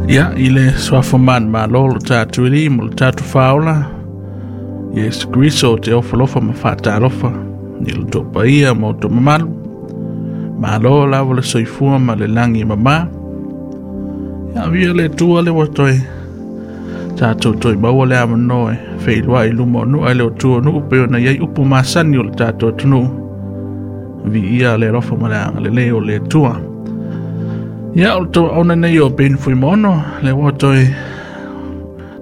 Ia, i le suafa manumalo o lo tatou Alii ma lo tatou Faaola, Iesu Keriso, ou te ofo alofa ma faatalofa i lo outou paia ma outou mamalu. Malo lava le soifua ma le lagi e mama. Ia, viia le Atua lea ua toe tatou toe maua le avanoa e feiloai i luma o nuu ae le o tua o nuu pei ona i ai upu masani o le tatou atunuu. Viia le alofa ma le agalelei o le Atua. Ia, o le tauauna nei o Ben Fuimaono, lea ua toe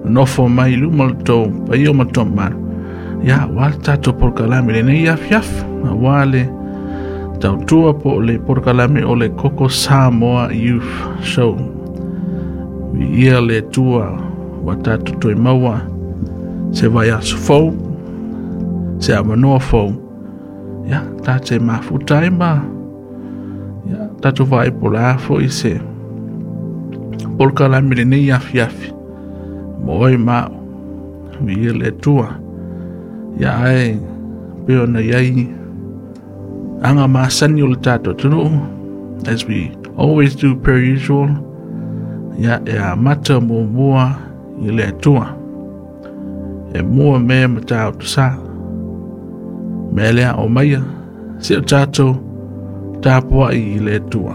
nofo mai i luma o le tou paia ma le tou mamalu. Ia, aua le tatou polokalame lenei afiafi, aua le tautua po o le polokalame o le Koko Samoa Youth Show. Viia le Atua ua tatou toe maua se vaiaso fou, se avanoa fou. Ia, tatou mafuta ai ma ia, tatou vaai po o le a foi se polokalame lenei afiafi mo oe ma au. Viia le Atua. Ia, ae pei ona i ai aga masani o le tatou atunuu, as we always do per usual, ia, e amata muamua i le Atua. E mua mea Matautu Sa. Mea lea o maia, se o tatou tapuai i le Atua.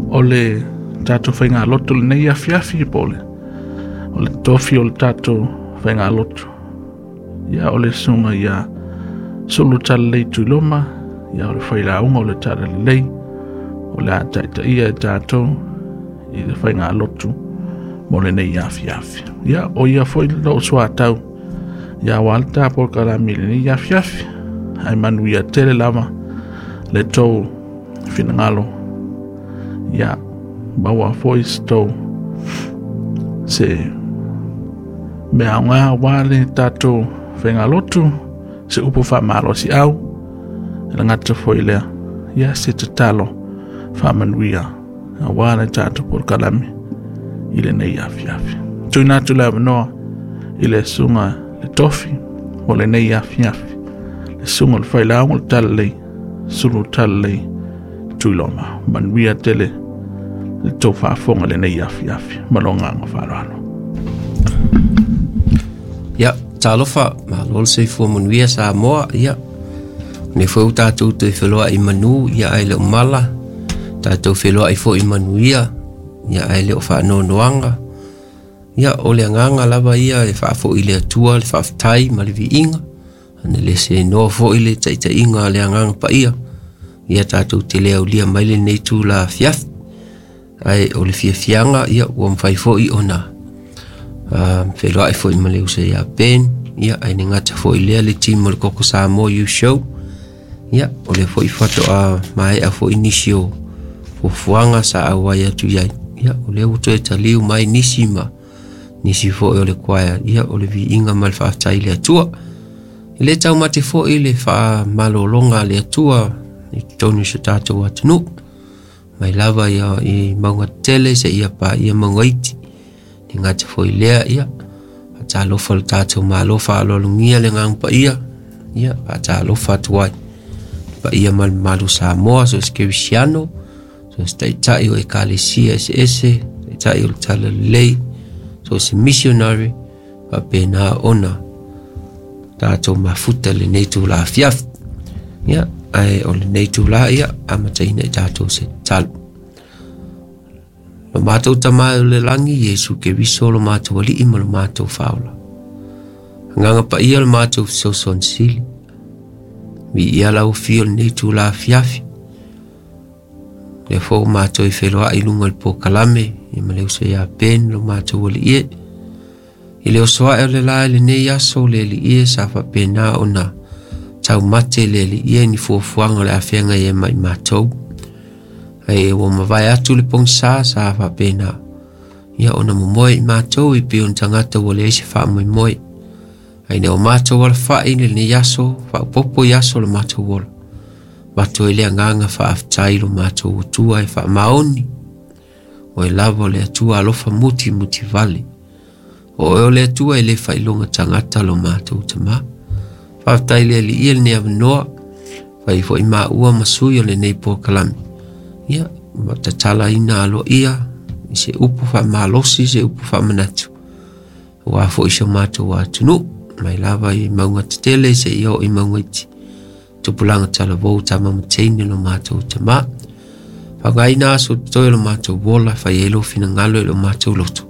O le tatou faigalotu lenei afiafi po o le tofi o le tatou faigalotu. Ia, o le susuga ia Sulu Talalelei Tuiloma, ia o le failauga o le Talalelei, o le a taitaia e tatou i le faigalotu mo lenei afiafi. Ia, o ia foi lou soatau, ia aua le ta polokalame i lenei afiafi. Ae manuia tele lava le tou finagalo. Ia, maua foi se tou se mea aoga aua le tatou faigalotu, se upu faamalosiau, e le gata foi lea, ia se tatalo faamanuia aua le tatou polokalame i lenei afiafi. Tuuina atu le avanoa i le susuga le tofi mo lenei afiafi, le susuga o le failauga o le Talalelei, Sulu Talalelei Tuiloma. Manuia tele le tou faafofoga i lenei afiafi ma le agaga faaaloalo. Ia, talofa, malo le soifua manuia Samoa, ia. Nei foi ua tatou toe feloai manu, ia ae le o mala, tatou feloai foi manuia, ia ae le o faanoanoaga. Ia, o le agaga lava ia e faafoi le Atua le faafetai ma le viiga, ana le senoa foi le taitaiga a le Agaga Paia, ia tatou te le aulia mai lenei tula afiafi. Ae o le fiafiaga, ia, ua mafai foi ona feloai foi ma le uso ia Ben, ia, ae le gata foi lea le team o le Koko Samoa Youth Show. Ia, o lea foi faatoa maea foi nisi o fuafuaga sa auai atu i ai. Ia, o lea ua toe taliu mai nisi ma nisi foi o le choir. Ia, o le viiga ma le faafetai i le Atua. E le taumate foi le faamalologa a le Atua i totonu o si o tatou atunuu. Mai lava ia i mauga tetele seia paia mauga iti. Le gata foi lea, ia, faatalofa le tatou Malo faaaloalogia le Agaga Paia, ia, faatalofa atu ai. Paia ma le mamalu o Samoa, so o se kerisiano, so o se taitai o ekalesia eseese, taitai o le Talalelei, so o se missionary, faapena ona tatou mafuta lenei tula afiafi. Ia, ae o lenei tula, ia, amataina i tatou se tatalo. Lo matou Tama e o le lagi, Iesu Keriso lo matou Alii ma lo matou Faaola. Agaga Paia lo matou fesoasoani sili. Viia lau afio lenei tula afiafi. Lea foi ua matou i feloai i luga o le polokalame, ia ma le uso ia Ben lo matou alii e. I le oso ae o le la i lenei aso le alii e sa faapena ona taumate le alii e ni fuafuaga o le afeaga ai ma i matou. Ae ua mavae atu le pogisa sa faapena ia ona momoe i matou i pei o ni tagata ua leai se faamoemoe. Ae ina ua matou alafai i lenei aso, faaopoopo i aso o le matou ola. Avatu ai le agaga faafetai i lo matou Atua e faamaoni. O oe lava o le Atua alofa muti muti vale. O oe o le Atua e le faailoga tagata lo matou Tama. Faafetai le Alii i lenei avanoa. Fai foi maua ma sui o lenei polokalame. Ia, Tatalaina aloaia i se upu faamalosi, se upu faamanatu aua foi si o matou atunuu, mai lava i mauga tetele seia oo i mauga iti, tupulaga talavou, tama ma teine lo matou tamā. Faaaogaina aso totoe o lo matou ola, fai ai lou finagalo i lo matou loto,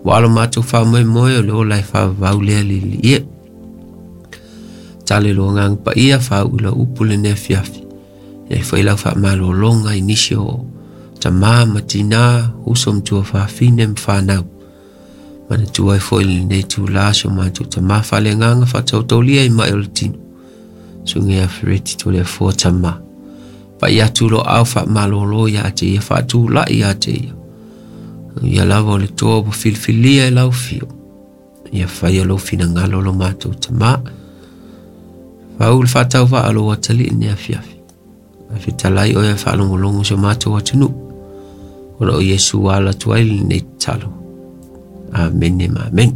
ua lo matou faamoemoe o le ola e faavavau lea liililie. Tale lo agaga paia faauu i lau upu lenei afiafi, e fai lau faamalologa i nisi o tamā ma tinā, uso ma tuafafine ma fanau. Manatua ai foi lenei itulā si o matou tamā faaleagaga faatautautaulia i mai o le tino, susuga ia Fereti Toleafoa Tamā. Pai atu lo aao faamalolo ia te ia, faatulai ia te ia. Ia lava o le toa ua filifilia e lau fio. Ia faia lou finagalo lo matou tamā. Fau le faatauvaa o lou atalii lenei afiafi. Ae fetalai oe ae faalogologo si o matou atunuu. Ona o Iesu ala atu ai lenei tatalo. Amene ma amene.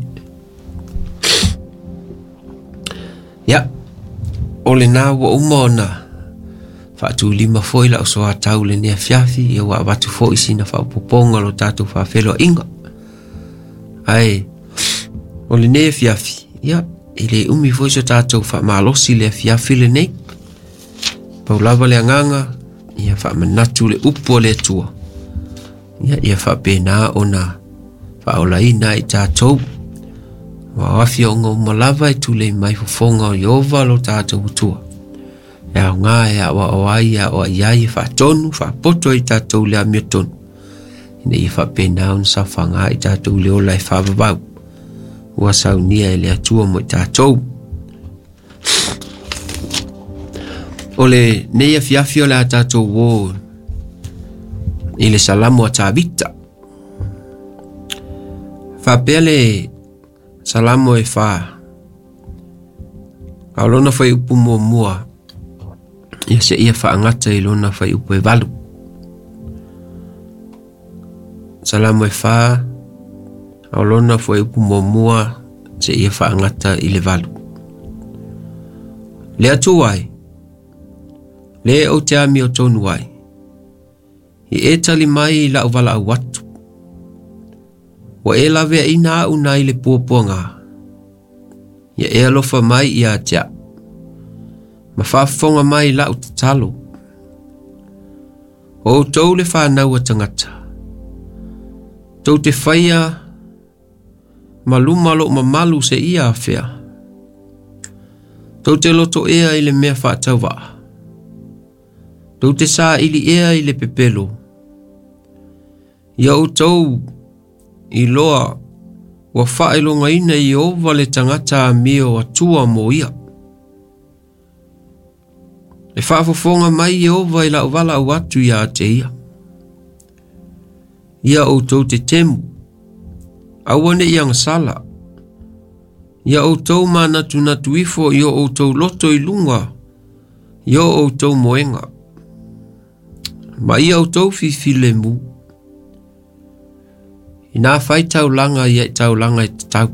Ia, o lena ua uma ona faatulima foi lau soatau lenei afiafi, ia ua avatu foi sina faaopoopoga o lo tatou faafeiloaiga. Ae o lenei afiafi, ia, e le umi foi so tatou faamalosi le afiafi lenei. Pau lava le agaga, ia faamanatu le upu a le Atua. Ia, ia faapena ona faaolaina ai tatou. Ua afioga uma lava e tulei mai fofoga o Ieova lo tatou Atua. E aoga e aoao ai, e aoai ai, e faatonu, faapoto ai tatou i le amiotonu, ina ia faapena ona saofaga ai tatou i le ola e faavavau ua saunia e le Atua mo i tatou. O lenei afiafi o le a tatou o i le Salamo a Tavita. Faapea le Salamo e 4. A o lona fuaiupu muamua, ia seia faagata i lona fuaiupu e 8. Salamo e 4, a o lona fuaiupu muamua seia faagata i le 8. Le Atua e, le ou te amiotonu ai, i e tali mai i lau valaau atu. Ua e laveaina au nai le puapuaga, ia e alofa mai ia te au, ma faafofoga mai lau tatalo. O outou le fanau a tagata, tou te faia ma luma lou mamalu seia afea. Tou te loto ea i le mea faatauvaa, tou te saili ea i le pepelo. Ia outou iloa ua faailogaina e Ieova le tagata amio atua mo ia. E faafofoga mai Ieova i lau valaau atu ia te ia. Ia outou tetemu, aua ne i agasala. Ia outou manatunatu ifo i o outou loto i luga i o outou moega. Ma ia outou fifilemu. Inā fai taulaga ia i taulaga e tatau.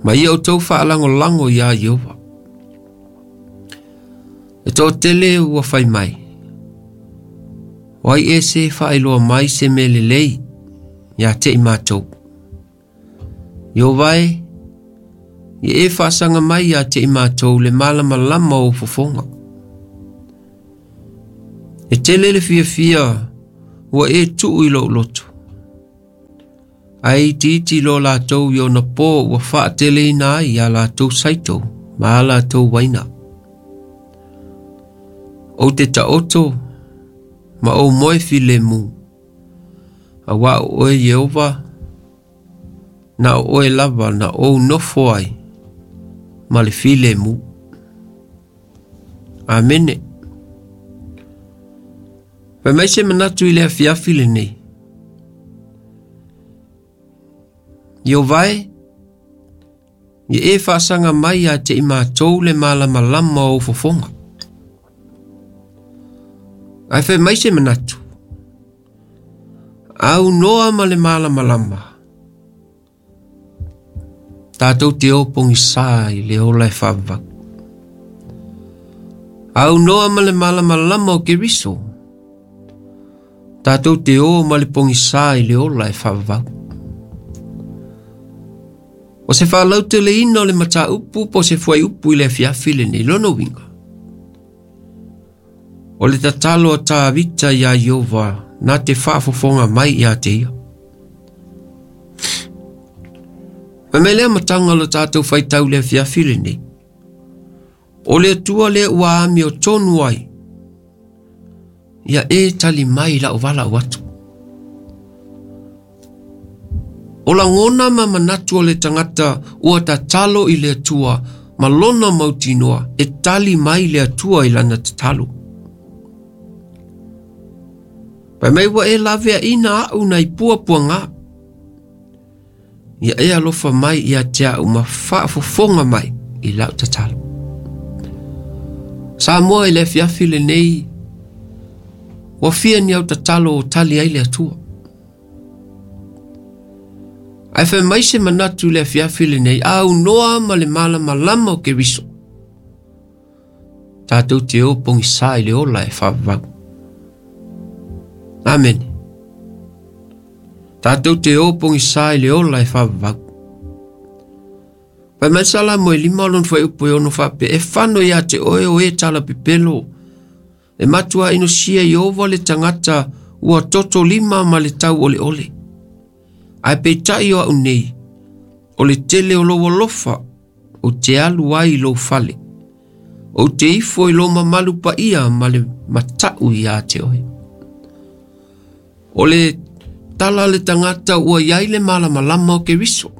Ma ia outou faalagolago iā Ieova. E toatele ua fai mai, o ai ea se faailoa mai se mea lelei ia te i matou. Ieova e, ia e faasaga mai ia te i matou le malamalama o fofoga. E tele le fiafia ua e tuu i lou loto. Ae itiiti loa latou i ona po ua faateleina ai a latou saito ma a latou uaina. Ou te taoto ma ou moe filemu, auā o oe Ieova, na o oe lava na ou nofo ai ma le filemu. Amene. Fai mai se manatu i le afiafi lenei. Ieova e, ia e faasaga mai ia te i matou le malamalama o ou fofoga. Ae fai mai se manatu, aunoa ma le malamalama, tatou te o pogisā i le ola e faavavau. Aunoa ma le malamalama o Keriso, Tatou te o ma le pogisā i le ola e faavavau. O se faalauteleina o le mataupu po o se fuaiupu i le afiafi lenei lona uiga. O le tatalo a Tavita iā Ieova na te faafofoga mai ia te ia. Fai mai le amataga o le tatou faitau i le afiafi lenei. O le Atua lea ua amiotonu ai, ia e tali mai lau valaau atu. O lagona ma manatu o le tagata ua tatalo i le Atua ma lona mautinoa e tali mai le Atua i lana tatalo. Fai mai ua e laveaina au nai puapuaga. Ia e alofa mai ia te au ma faafofoga mai i lau tatalo. Samoa i le afiafi lenei, ua fia ni au tatalo o tali ai le Atua. Ae fai mai se manatu i le afiafi lenei, a aunoa ma le malamalama o Keriso, tatou te o pogisā i le ola e faavavau. Amene. Tatou te o pogisā i le ola e faavavau. Fai mai le Salamo e lima o lona fuaiupu e ono faapea, e fano ia te oe o e talapepelo, e matua inosia Ieova le tagata ua toto lima ma le tauoleole. Ae peitai o au nei, o le tele o lou alofa, ou te alu ai i lou fale. Ou te ifo i lou mamalu paia ma le matau ia te oe. O le tala a le tagata ua i ai le malamalama o Keriso.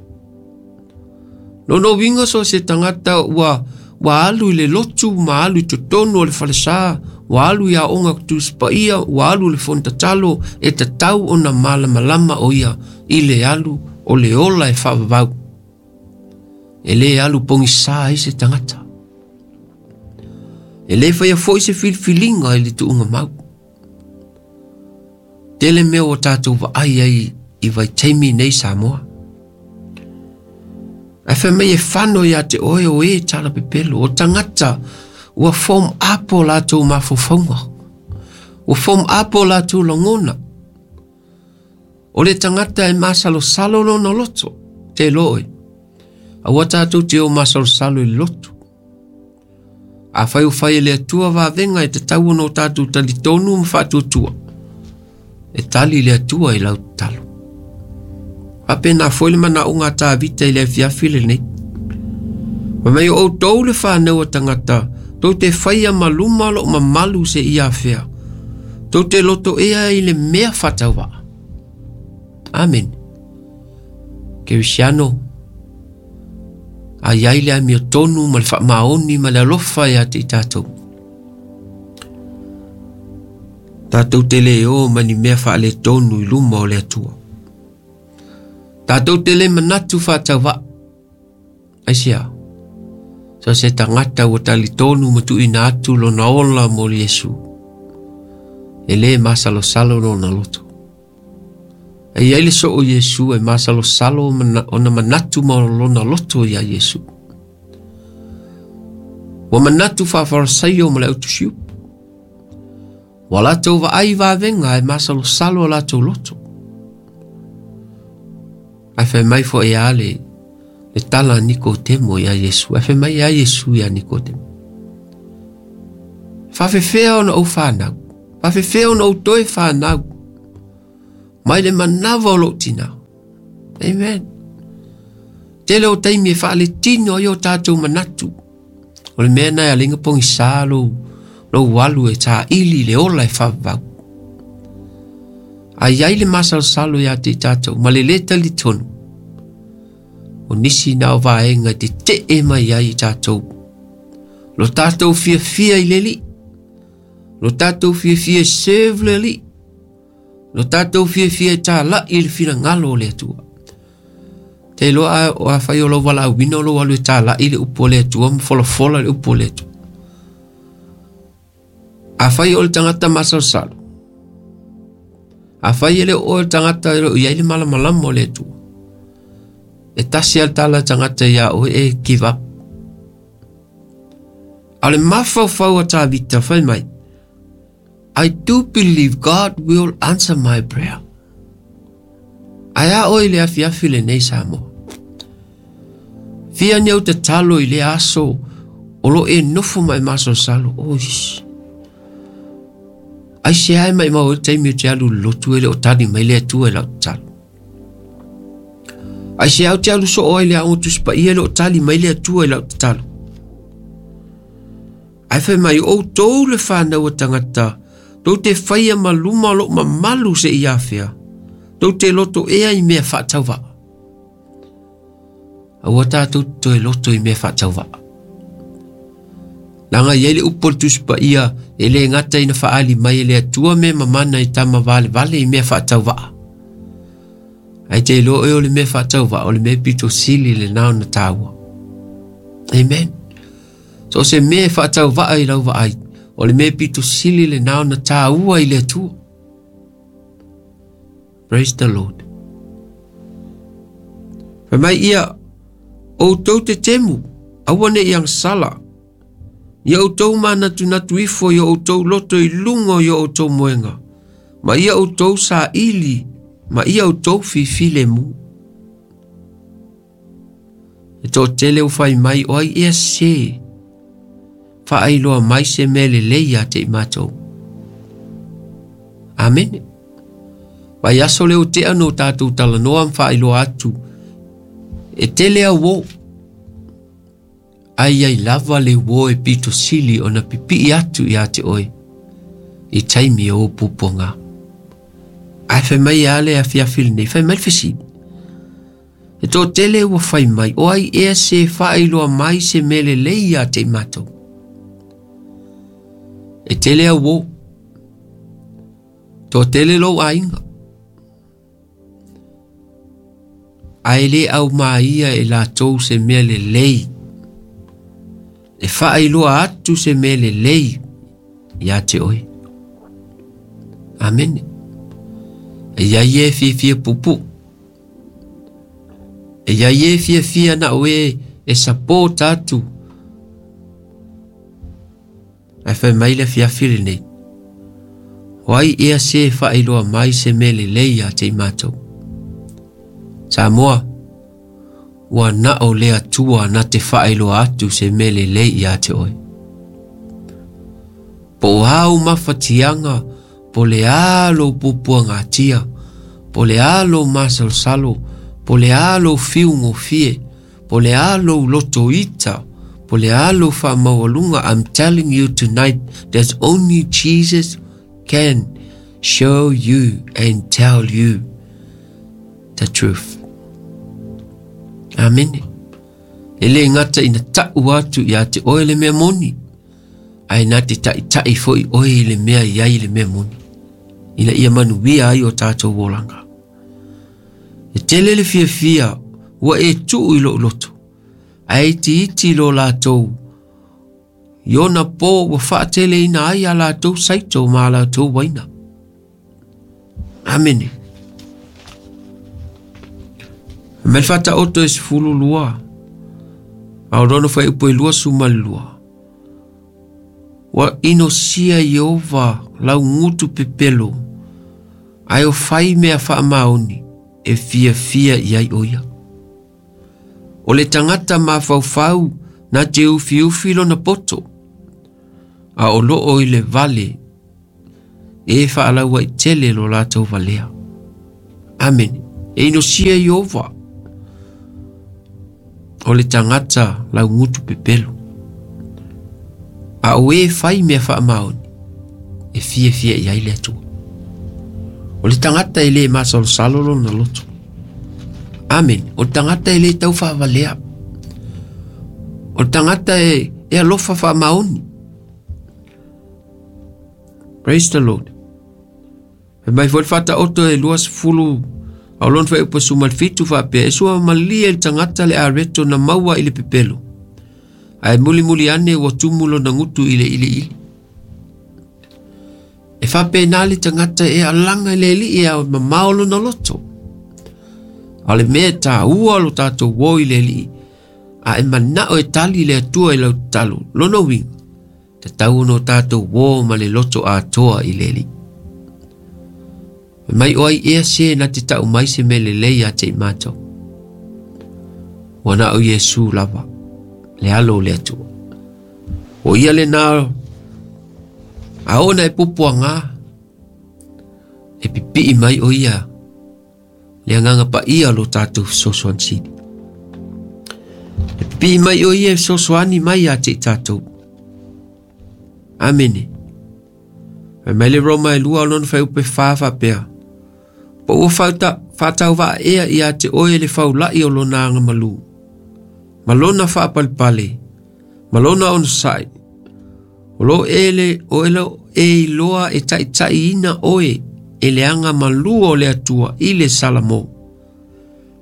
Lona uiga so o se tagata ua ua alu i le lotu ma alu i totonu o le falesa, ua alu i aoga Tusi Paia, ua alu i le fono tatalo, e tatau ona malamalama o ia i le alu o le ola e faavavau. E le alu pogisā ai se tagata. E le faia foi se filifiliga i le tuuga mau. Tele mea ua tatou vaai ai i vaitaimi nei Samoa. Ae fai mai e fano ia te oe o e talapepelo, o tagata ua form up o latou mafaufauga, ua form up o latou lagona. O le tagata e masalosalo lona loto, te iloa oe. Aua tatou te o masalosalo i le loto. Afai o fai e le Atua vavega e tatau ona o tatou talitonu ma faatuatua, e tali le Atua i lau tatalo. Faapena foi le manaoga a Tavita i le afiafi lenei. Fai mai o outou le fanau a tagata, tou te faia ma luma lou mamalu se ia afea. Tou te loto ea i le mea faatauvaa. Amen. Kerisiano, a i ai le amiotonu ma le faamaoni ma le alofa ia te i tatou. Tatou te le o ma ni mea faaletonu i luma o le Atua. Tatou te le manatu faatauvaa. Aisea? So se tagata ua talitonu ma tuuina atu lona ola mo Iesu. E le masalosalo lona loto. E i ai le soo o Iesu e masalosalo ona manatu ma lona loto iā Iesu. Ua manatu faa-Farisaio ma le autusiupu. Ua latou vaai i vavega e masalosalo o latou loto. Ae fai mai foi a le, le tala a Nikotemo iā Iesu. Ae fai mai a Iesu iā Nikotemo. Faafefea ona ou fanau? Faafefea ona ou toe fanau? Mai le manava o lou tinā. Amen. Tele o taimi e faaletino ai o tatou manatu. O le mea na e alinga pogisā lou, lou alu e tāili le ola e faavavau. A i ai le masalosalo ia te i tatou, ma le lē talitonu, o nisi na o vaega e tetee mai ai i tatou. Lo tatou fiafia i le Alii, lo tatou fiafia e serve le Alii, Lo tatou fiafia e tālaʻi i le finagalo o le Atua. Te iloa a, o afai o lou valaauina o lou alu e tālaʻi le upu a le Atua ma folafola le upu a le Atua. Afai o le tagata masalosalo, afai e le o oe le tagata e le o i ai le malamalama o le Atua, e tasi a le tala tagata iā oe e give up. A o le mafaufau a Tavita fai mai, I do believe God will answer my prayer. Ae a oe i le afiafi lenei Samoa? Fia ni au tatalo i le aso o lo e nofo ma e masalosalo. Ois. Ai se ai mai mau e taimi o te alu lotu e le o tali mai le Atua i lau tatalo. Ai se au te alu soo ai le aoga Tusi Paia e le o tali mai le Atua i lau tatalo. Ae fai mai, o outou le fanau a tagata, tou te faia ma luma o lou mamalu seia afea, tou te loto ea i mea faatauvaa. Aua tatou te toe loto i mea faatauvaa. Leaga i ai le upu o le Tusi Paia, e le gata ina faaali mai e le Atua mea mamana i tama valevale i mea faatauvaa. Ae te iloa oe o le mea faatauvaa, o le mea pito sili lena ona taua. Amen. So o se mea e faatauvaa i lau vaai, o le mea pito sili lena ona taua i le Atua. Praise the Lord. Fai mai ia, outou te temu, aua ne i agasala. Ia outou manatunatu ifo i o outou loto i luga i o outou moega, ma ia outou saili, ma ia outou fifilemu. E toatele ua fai mai, o ai ea se faailoa mai se mea lelei ia te i matou. Amene. Vai aso le o tea no tātou talanoa ma faailoa atu. E tele au o. Ai ai lava le uo e pito sili ona pipii atu ia te oe i taimi o pupuanga. Ae fai mai a le afiafi lenei, fai mai le fesili. E toatele ua fai mai, o ai ea se faailoa mai se mea lelei ia te i matou. E tele au o. Toatele lou aiga. Ae le aumaia e latou se mea lelei. E faailoa atu se mea lelei ia te oe. Amene. E iai e fiafia puupuu. E iai e fiafia na o e e support atu. Ae fai mai le afiafi lenei. O ai ea se faailoa mai se mea lelei ia te i matou. Samoa, ua na o le Atua na te faailoa atu se mea lelei ia te oe. Po o a ou mafatiaga, po o le a lou puapuagatia, po o le a lou masalosalo, po o le a lou fiugofie, po o le a lou loto ita, po o le a lou faamaualuga, I'm telling you tonight, there's only Jesus can show you and tell you the truth. Amene. E le gata ina ta'u atu ia te oe le mea moni, ae na te ta'ita'i fo'i oe i le mea i ai le mea moni, ina ia manuia ai o tātou olaga. E tele le fiafia ua e tuu i lou loto, ae itiiti lo latou i ona pō ua faateleina ai a latou saito ma a latou uaina. Amene. Mai le Faataoto e 12, a o lona fuaiupu e 22. Ua inosia Ieova lau gutu pepelo, ae o fai mea faamaoni e fiafia i ai o ia. O le tagata mafaufau na te ufiufi lona poto, a o loo i le vale e faalauaitele lo latou valea. Amene. E inosia Ieova o le tagata laugutu pepelo. A o e fai mea faamaoni, e fiafia i ai le Atua. O le tagata e le masalosalo lona loto. Amene. O le tagata e le tau faavalea. O le tagata e alofa faamaoni. Praise the Lord. Fai mai foi le Faataoto e 20 a o lona fuaiupu 17 faapea, e sua malie i le tagata le areto na maua i le pepelo, ae mulimuli ane ua tumu lona gutu i le iliili. E faapena le tagata e alaga i le Alii a mamao lona loto. A o le mea e taua lo tatou o i le Alii, a e manao e tali le Atua i lau tatalo, lona uiga, Tatau ona o tatou uō ma le loto atoa i le Alii. Fai mai o ai ea se na te tau mai se mea lelei ia te i matou. Ua na o Iesu lava, le alo o le Atua. O ia lena a oo ina e puapuaga, e pipii mai o ia le agaga paia o lo tatou fesoasoani sili. E pipii mai o ia e fesoasoani mai ia te i tatou. Amene. Fai mai le Roma e 2 o lona fuaiupu e 4 faapea, Po ua faatauvaa ea ia te oe le faulai o lona agamalu, ma lona faapalepale, ma lona onosai, o lo e, o e lo e iloa e taitaiina oe e le agamalu o le Atua i le Salamo.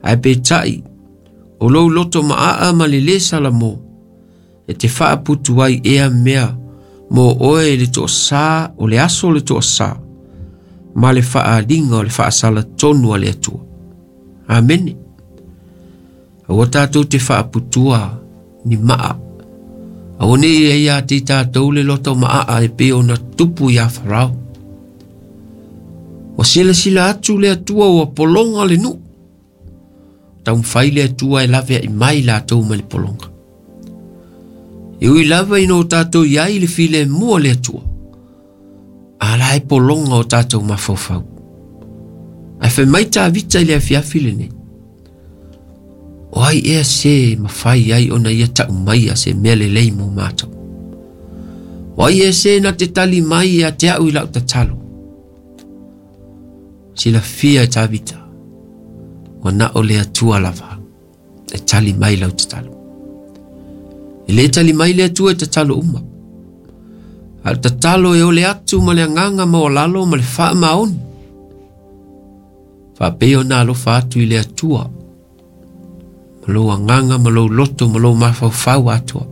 Ae peitai, o lou loto maaa ma le lē Salamo, e te faaputu ai ea mea mo oe le toasā o le aso o le toasā, ma le faaaliga o le faasalatonu a le Atua. Amene. Aua tatou te faaputua ni maa. Aua ne i ai ia te i tatou le loto maaa e pei ona tupu iā Farao. Ua silasila atu le Atua ua pologa le nuu. Taumafai le Atua e laveai mai latou mai le pologa. E ui lava ina o tatou i ai i le filemu o le Atua, a la e pologa o tatou mafaufau. Ae fai mai Tavita i le afiafi lenei, o ai ea se mafai ai ona ia tau maia se mea lelei mo matou? O ai ea se na te tali mai ia te au i lau tatalo? Silafia e Tavita, ua na o le Atua lava e tali mai lau tatalo. E le tali mai le Atua i tatalo uma. A o le tatalo e ole atu ma le agaga maualalo ma le faamaoni. Faapei ona alofa atu i le Atua ma lou agaga ma lou loto ma lou mafaufau atoa.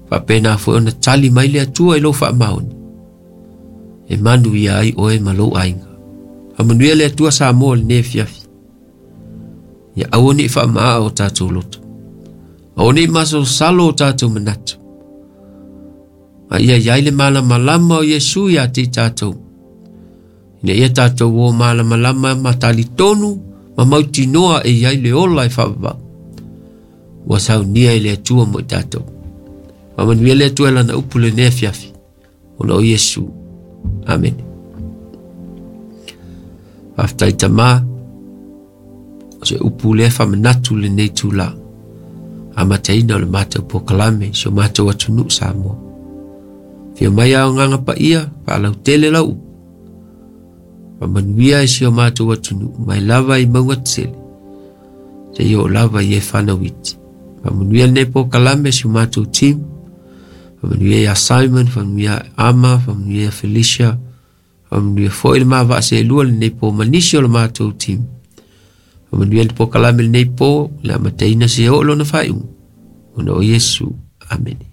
Faapena foi ona tali mai le Atua i lou faamaoni e manuia ai oe ma lou aiga. Faamanuia le Atua Samoa i lenei afiafi. Ia aua ne i faamaa o tatou loto. Aua ne i masalosalo o tatou manatu. A ia i ai le malamalama o Iesu ia te i tatou. Ina ia tatou o malamalama ma talitonu ma mautinoa e i ai le ola e faavavau. Ua saunia e le Atua mo i tatou. Faamanuia le Atua i lana upu lenei afiafi. Ona o Iesu. Amene. Faafetai Tama, o se upu lea faamanatu lenei itula, amataina o le matou polokalame i si o matou atunuu Samoa. Afio mai ao agaga paia, faalautele lau upu. Faamanuia i si o matou atunuu, mai lava i mauga tetele, seia oo lava i e fanau iti. Faamanuia lenei polokalame si o matou team, faamanuia ia Simon, faamanuia ia Ama, faamanuia ia Felicia, faamanuia foi le mavaa seelua lenei po ma nisi o le matou team. Faamanuia le polokalame lenei po, le amataina seia oo lona faaiuga. Ona o Iesu. Amene.